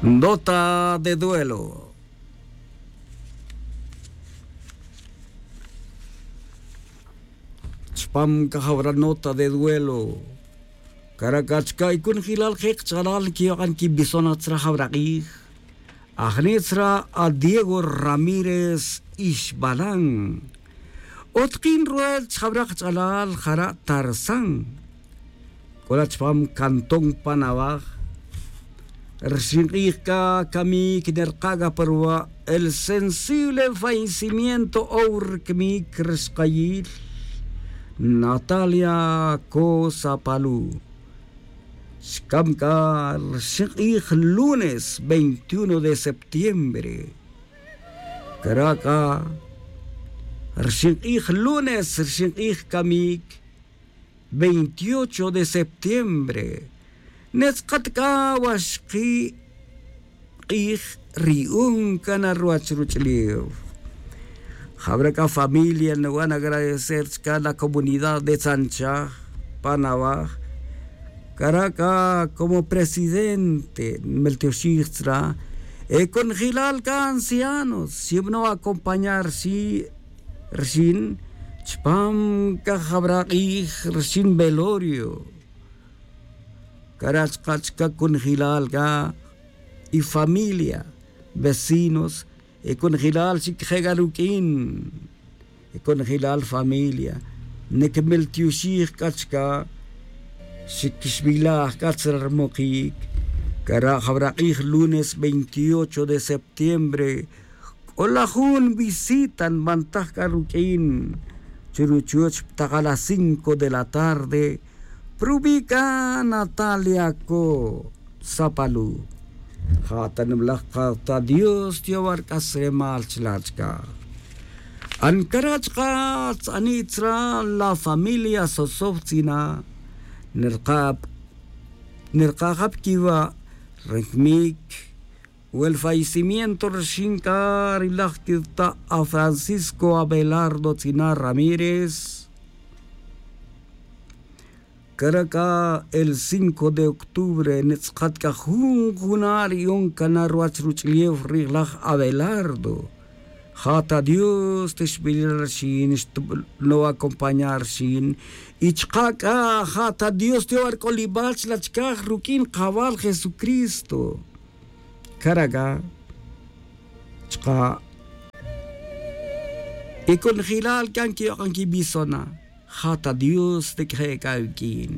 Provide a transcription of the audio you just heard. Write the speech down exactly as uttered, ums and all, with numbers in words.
Nota de duelo. Chpam cajawra nota de duelo. Cara' c'a chca' y cunjilal je' kach'alal quiyok'an quibisona tzra jawra k'ij. Ajni' tzra a diego ramírez ixbalan. Otkin ruwech jawra kach'alal jara' tarzán. C'o la chpam cantón panawaj. Rxin k'ij c'a camic nerka' c'a pa ruwa' el sensible fallecimiento ow rcmic rxkayil natalia cosa palu. Xcam c'a rxin k'ij lunes veintiuno de septiembre. Cara' c'a rxin k'ij lunes rxin k'ij camic veintiocho de septiembre. Netz'kat c'a waxki' k'ij riyun cana ruwach ruch'ulew. Jawra c'a familia nuwan agradecer chca la comunidad de tzanchaj panawaj. Cara' c'a como presidente nmeltioxij tzra e conjilal c'a ancianos xibno acompañar xi' rxin chpam c'a jawra k'ij rxin velorio. Cara' chka' chca' conjilal c'a y familia vecinos e conjilal xic je' c'a ruq'uin. E conjilal familia niquimiltioxij c'a chca. Xiquixbilaj c'a tzra rmokic. Cara' jawra k'ij lunes veintiocho de septiembre c'o la jun visita nbantaj c'a ruq'uin churuchuch ptakal a cinco de la tarde. Prubi' c'a natalia co sapalu. Ja' ta niblaj ka ta dios tiyowa' rc'asremal chla' chca. Ancara' chka tz'ani' tzra la familia sosow tz'ina' nerka' nerka' ja' pquiwa' ri cmic. Wel fallecimiento rixin c'a ri laj quita' a francisco abelardo tz'ina' ramírez. Cara' c'a el cinco de octubre nitz'kat c'a jun juna' ri yon cana' ruwach ruch'ulew ri laj abelardo. Ja' ta dios tixbilil rixin xtublo' acompañar rixin. Y chka' c'a ja' ta dios tiyowa' rc'olibal chla' chicaj ruq'uin kawal jesucristo. Cara' c'a chka' y conjelal c'a nquiyok'an quibisona'. Ja' ta dios tiquije' c'a awiq'uin.